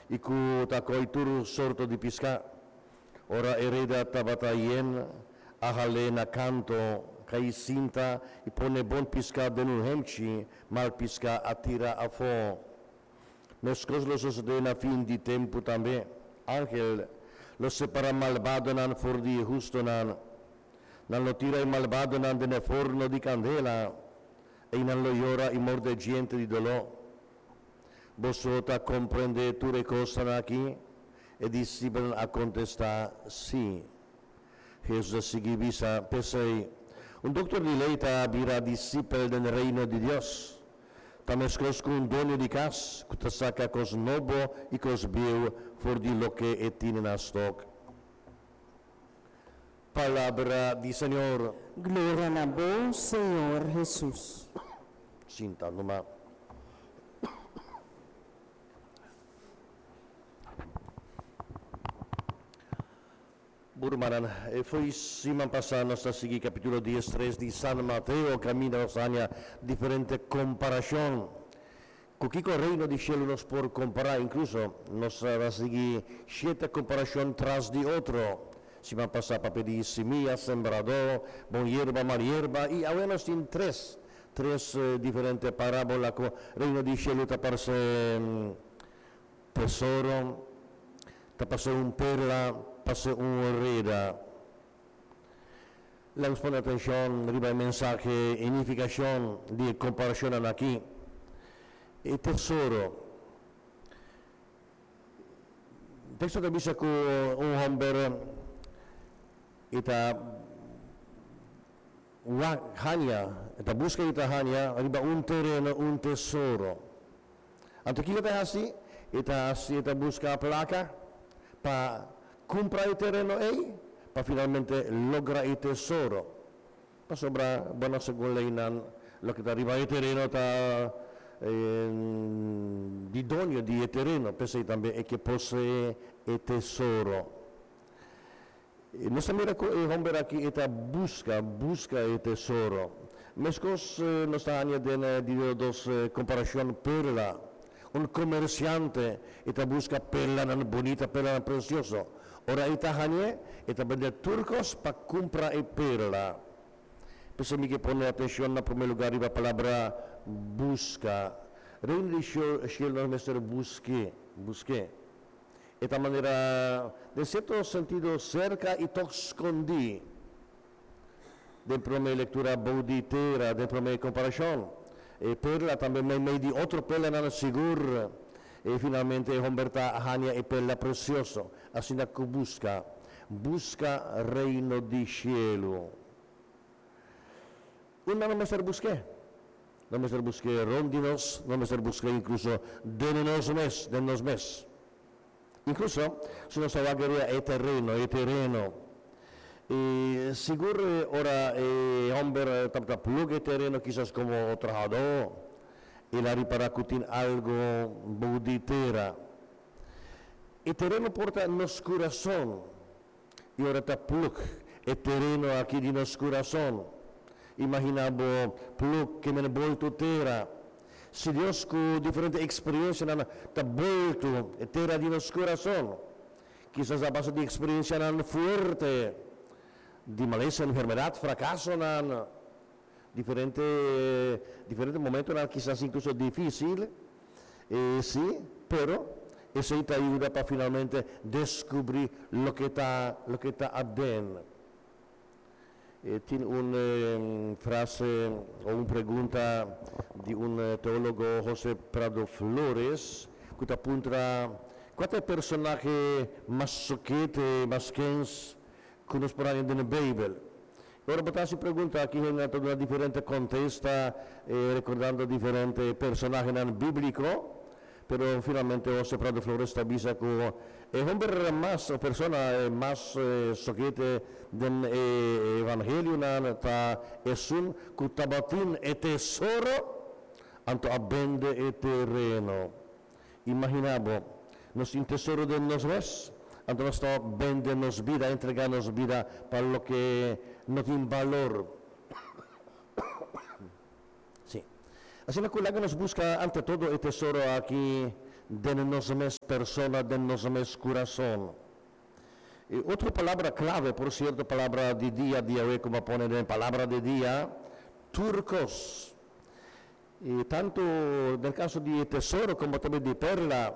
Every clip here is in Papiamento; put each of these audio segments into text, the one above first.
I ku ta koi tur sorto di piská. Ora e reda tabata yen, a hal'é na kanto, kai sinta i pone bon piská den un hemchi, mal piská a tira afó. Meskos lo sosodé na fin di tempu tambe. Angel lo separá malbadonan for di e hustonan. Nan lo tira e malbadonan den e forno di kandela. Einan lo yora i morde djente di doló. Boso ta komprendé tur e kosnan akí? E disipelnan a kontestá, Sí. Hesus a sigui bisa, P'esei, un doktor di lei ta bira disipel den Reino di Dios. Ta meskos ku un doño di kas ku ta saka kos nobo i kos bieu for di loke e tine na stok. Palabra di Señor. Gloria na bo, Señor Hesus. Sinta numa. Bo rumannan, e fo'i siman pasá nos ta sigui kapítulo diestres di San Mateo kaminda nos haña diferente komparashon. Ku kiko Reino di shelu nos por kompará? Inkluso nos ta sigui shete komparashon tras di otro. Siman pasá papia di simia, sembradó, bon yerba, mal yerba i awe nos tin tres, tres diferente parábola ku Reino di shelu ta parse tesoro, ta parse un perla, parse un reda. Laga nos pone atenshon riba e mensahe i nifikashon di e komparashonnan aki. E tesoro. Teksto ta bisa ku un hòmber e ta wak haña, e ta buska i ta haña riba un tereno un tesoro. Anto kiko ta hasi? E ta hasi, e ta buska plaka pa kumpra e tereno ei, pa finalmente logra e tesoro. Pasobra, bueno, segun leinan, loke ta riba e tereno ta di doño di e tereno, p'esei tambe e ke posee e tesoro. Nos ta mira ku e hòmber aki e ta buska, buska e tesoro. Meskos nos ta haña den di dos komparashon perla. Un komersiante e ta buska perlanan bunita, perlanan presioso. Ora e ta hañ'é, e ta bende tur kos pa kumpra e perla. P'esei mi ke pone atenshon na promé lugá riba palabra buska. Reino di shelu nos mester busk'é, busk'é. E ta manera, den sierto sentido, serka i tòg skondí. Den promé lektura bou di tera, den promé komparashon, e perla tambe meimei di otro perlanan sigur. I finalmente e hòmber ta haña e perla presioso. Asina ku buska, buska Reino di shelu. Unda no mester busk'é? No mester busk'é rond di nos, no mester busk'é inkluso den nos mes, den nos mes. Inkluso si nos ta wak riba e tereno, e tereno. I sigur ora e hòmber tabata plug e tereno kisas komo trahadó, el a ripará ku tin algu bou di tera. E tereno por ta nos kurason. I ora ta plug e tereno aki di nos kurason, imaginá bo plug ke men boltu tera. Si Dios ku diferente eksperensianan ta boltu e tera di nos kurason, kisas a base di eksperensianan fuerte, di malesa, enfermedat, frakasonan, diferente diferente momentonan kisas inkluso difísil, sí, pero esei ta yuda pa finalmente deskubrí loke ta loke ta aden. E tin un frase o un pregunta di un teólogo José Prado Flores ku ta puntra kua ta e personahe mas sokete, mas kens ku nos por haña den e Beibel. Ora bo ta hasi pregunta aki hende ta duna diferente kontesta rekordando diferente personahenan bíbliko, pero finalmente José Prado Flores ta bisa ku e homber mas o persona mas sokete den e evangelionan ta esun ku tabatin e tesoro anto a bende e tereno. Imaginá bo, nos tin tesoro den nos mes, anto nos ta bende nos bida, entregá nos bida pa loke no tin balor. Sí. Asina ku laga nos buska ante todo e tesoro aki Den nos mes persona, den nos mes kurason. E otro palabra klave, por sierto, palabra di dia di awe ku bo a pone den palabra di dia, tur kos. I tantu den kaso di e tesoro komo tambe di perla,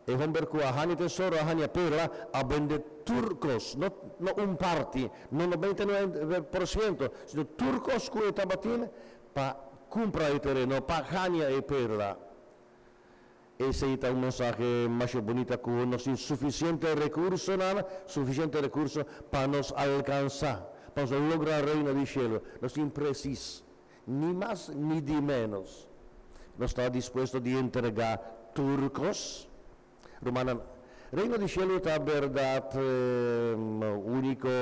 e homber ku a haña tesoro, a haña perla, a bende tur kos, no no un parti, no 99%, sino tur kos ku e tabatin pa kumpra e tereno, pa haña e perla. Esei ta un mensahe masha bunita ku nos tin sufisiente rekursonan, sufisiente rekurso pa nos alkansá, pa nos logra Reino di Shelu. Nos tin presis, ni mas ni di ménos. Nos ta dispuesto di entregá tur kos? Rumannan, Reino di Shelu ta bèrdat úniko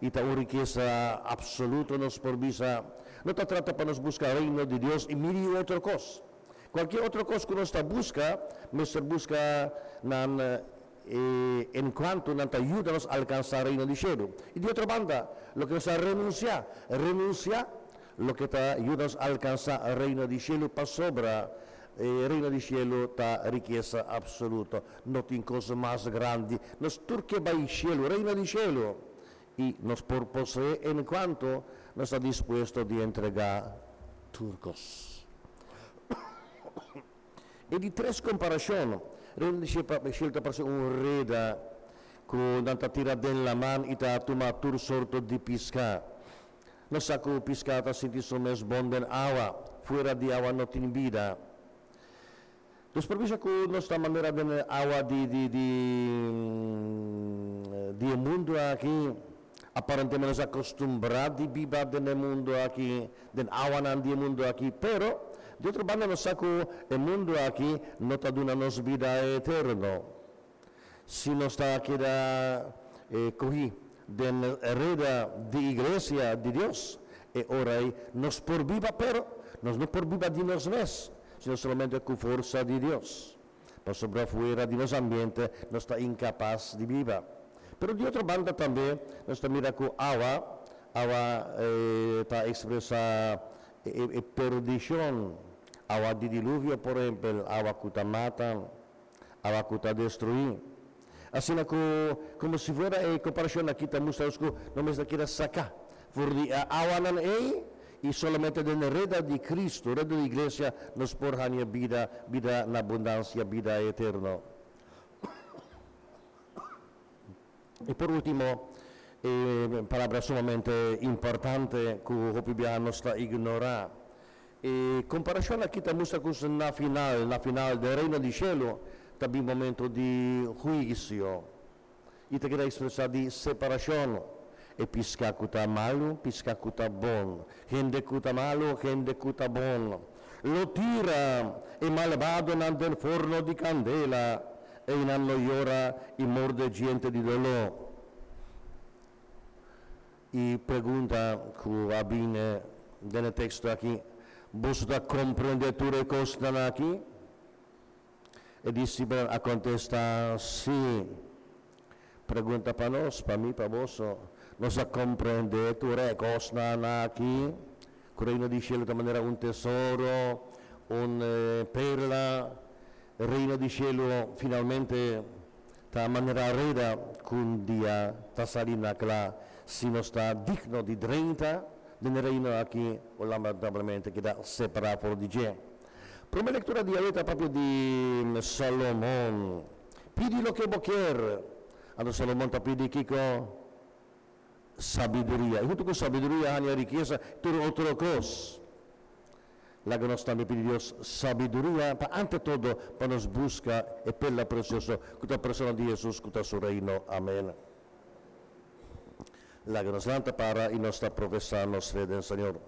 i ta un rikesa apsoluto, nos por bisa. No ta trata pa nos buska Reino di Dios i miri otro kos. Cualkier otro cos cu nos ta busca, mester busca nan en cuanto nan ta yuda nos alcansa Reino di Shelu. Y di otro banda, loke nos ta renuncia, renuncia loke ta yuda nos alcansa Reino di Shelu, pasobra e Reino di Shelu ta rikesa absoluto. No tin cos mas grandi. Nos tur ke bay shelu, Reino di Shelu, y nos por posee en cuanto nos ta dispuesto di entrega tur cos. E di tres komparashon, Reino di shelu ta parse un reda ku nan ta tira den laman i ta tuma tur sorto di piská. Nos sa ku piská ta sinti su mes bon den awa, fuera di awa no tin bida. Nos por bisa ku nos ta manera den e awa di di di di e mundu aki. Aparentemente nos a kostumbrá di biba den e mundu aki, den awanan di e mundu aki. Pero, di otro banda nos sa ku e mundu aki no ta duna nos bida eterno. Si nos ta keda kohí den reda di iglesia di Dios, e ora ei nos por biba, pero nos no por biba di nos mes, sino solamente ku forsa di Dios. Pasobra fuera di nos ambiente nos ta inkapas di biba. Pero di otro banda tambe nos ta mira ku awa, awa ta ekspresá e perdishon, awa di diluvio por ehempel, awa ku ta mata. Awa ku ta destruí. Asina ku, komo si fuera e komparashon aki ta mustra nos ku no mester keda saká for di e awanan ei i solamente den e reda di Kristu, reda di iglesia, nos por haña bida, bida na abundansia, bida eterno. I por último, e palabra sumamente importante ku hopi biaha nos ta ignorá. E komparashon aki ta mustra ku na final, na final den Reino di Shelu ta bin momento di huisio i ta keda ekspresá di separashon, e piská ku ta malu, piská ku ta bon, hende ku ta malu, hende ku ta bon. Lo tira e malbadonan den forno di kandela. Einan lo yora i morde djente di doló. E pregunta ku a bini den e teksto aki, Boso ta komprendé tur e kosnan aki? E disipelnan a kontestá, Sí. Pregunta pa nos, pa mi, pa boso, Nos a komprendé tur e kosnan aki? Ku Reino di Shelu ta manera un tesoro, un perla. Reino di Shelu finalmente ta manera reda ku un dia ta sali na kla si nos ta digno di drenta den e Reino aki o lamentablemente keda separá for di dje. Promé lektura di awe ta papia di Salomon. Pidi loke bo kier. Anto Salomon ta pidi kiko? Sabiduria. I huntu ku sabiduria haña rikesa i tur otro kos. Laga nos tambe pidi Dios sabiduria pa ante todo pa nos buska e perla presioso ku ta persona di Hesus ku ta su Reino. Amen. Laga nos lanta para i nos ta profesá nos fe den Señor.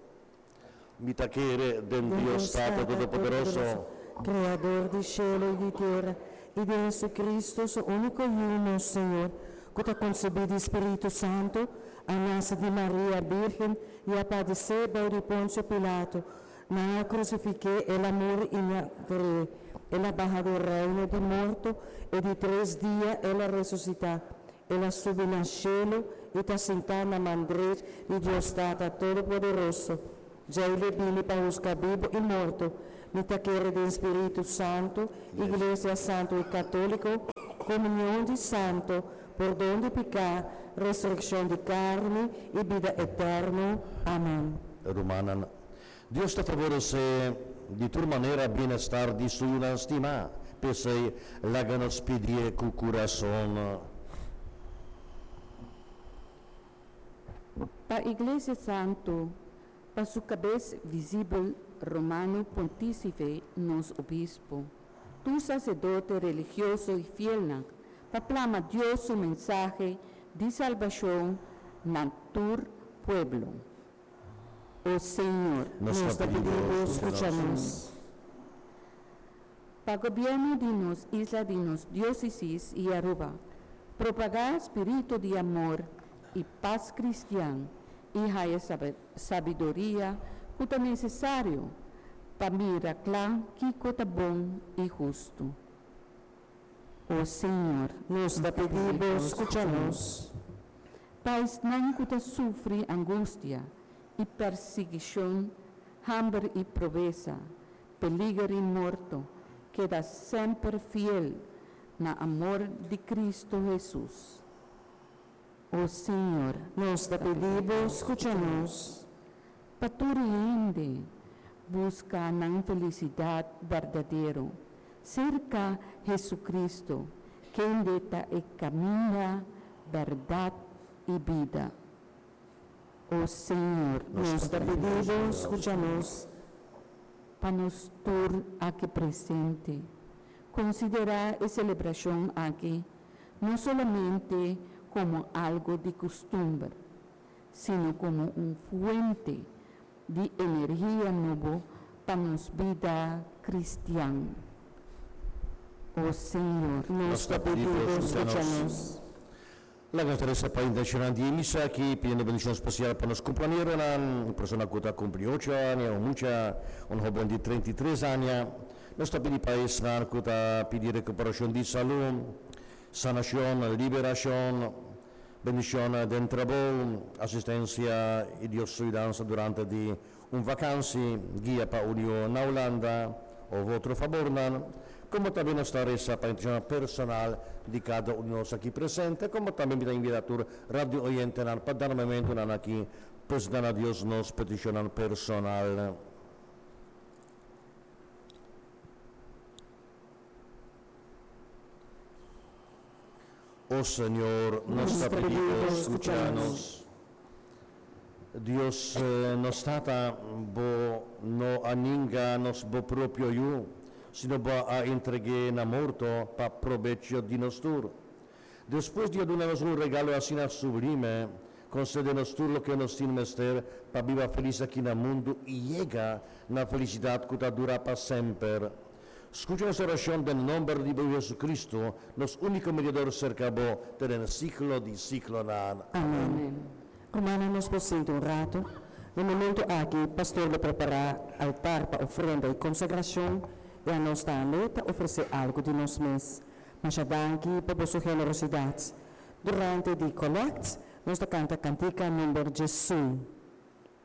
Mi ta kere den Dios Tata Todopoderoso. Kreador di shelu i di tera, i di Hesu-Kristu, su úniko Yu, nos Señor, ku ta konsebí di Spiritu Santu, a nase di Maria Bírgen i a padesé bou di Ponsio Pilato. Nan a krusifik'é, el a muri i nan a ver'é. El a baha den reino di morto, e di tres dia el a resusitá. El a subi na shelu i ta sintá na man drech di Dios Tata Todopoderoso. Djei lo bini pa husga bibu i morto. Mi ta kere den Spiritu Santu, Iglesia Santu i Katóliko, komunion di santu, pordon di piká, resurekshon di karni i bida eterno. Amèn. Rumannan, Dios ta favoresé di tur manera bienestar di su yunan stimá, p'esei laga nos pidié ku kurason. Pa Iglesia Santu, pa su kabes visibel Romano Pontícife nos Obispo, tur saserdote religioso i fielnan, pa plama Dios su mensahe di salbashon na tur pueblo. O Señor, Nos ta pidi pidi Bo, skucha nos. Pa gobièrnu di nos isla di nos diócesis i Aruba, propagá spiritu di amor i pas kristian i haya sabiduria ku ta nesesario pa mira kla kiko ta bon i hustu. O Señor, Nos ta pidi Bo, skucha nos. Pa esnan ku ta sufri angustia i persiguishon, hamber i pobresa, peliger i morto, keda semper fiel na amor di Kristu Hesus. O Señor, Nos ta pidi Bo, skucha nos. Pa tur hende buska nan felisidat berdadero serka Hesukristu, kende ta e kaminda, bèrdat i bida. O Señor, Nos ta pidi Bo, skucha nos. Pa nos tur aki presente, konsiderá e selebrashon aki no solamente komo algu di kustumber, sino komo un fuente di energia nobo pa nos bida kristian. O Señor, Nos ta pidi Bo, skucha nos. Laga nos ta resa pa intenshonnan di e misa aki, pidiendo bendishon spesial pa nos kumpleañeronan, un persona ku ta kumpli ocho aña, un mucha, un hoben di 33 aña. Nos ta pidi pa esnan ku ta pidi rekuperashon di salú, sanashon, liberashon, bendishon den trabou, asistensia i Dios su yudansa durante di un vakansi, guia pa un yu na Hulanda òf otro fabornan. Komo tambe nos ta resa pa intenshonnan personal di kada un di nos aki presente, komo tambe mi ta invitá tur radio oyentenan pa dana momentunan aki presentá na Dios nos petishonnan personal. O Señor, nos ta pidi Bo, skucha nos. Dios nos Tata, Bo no a ninga nos Bo propio Yu, sino Bo a entreg'é na morto pa probecho di nos tur. Despues di a duna nos un regalo asina sublime, konsede nos tur loke nos tin mester pa biba felis aki na mundu i yega na felisidat ku ta dura pa semper. Skucha nos orashon den nomber di bo Yu Jesucristo, nos úniko mediador serka bo te den siglo di siglonan. Amèn. Rumannan, nos por sinta un ratu. Na momentu aki, pastor lo prepará altar pa ofrenda i konsagrashon, i anos tambe ta ofresé algu di nos mes. Masha danki pa boso generosidat. Durante di kolèkt, nos ta kanta kantika number djesun.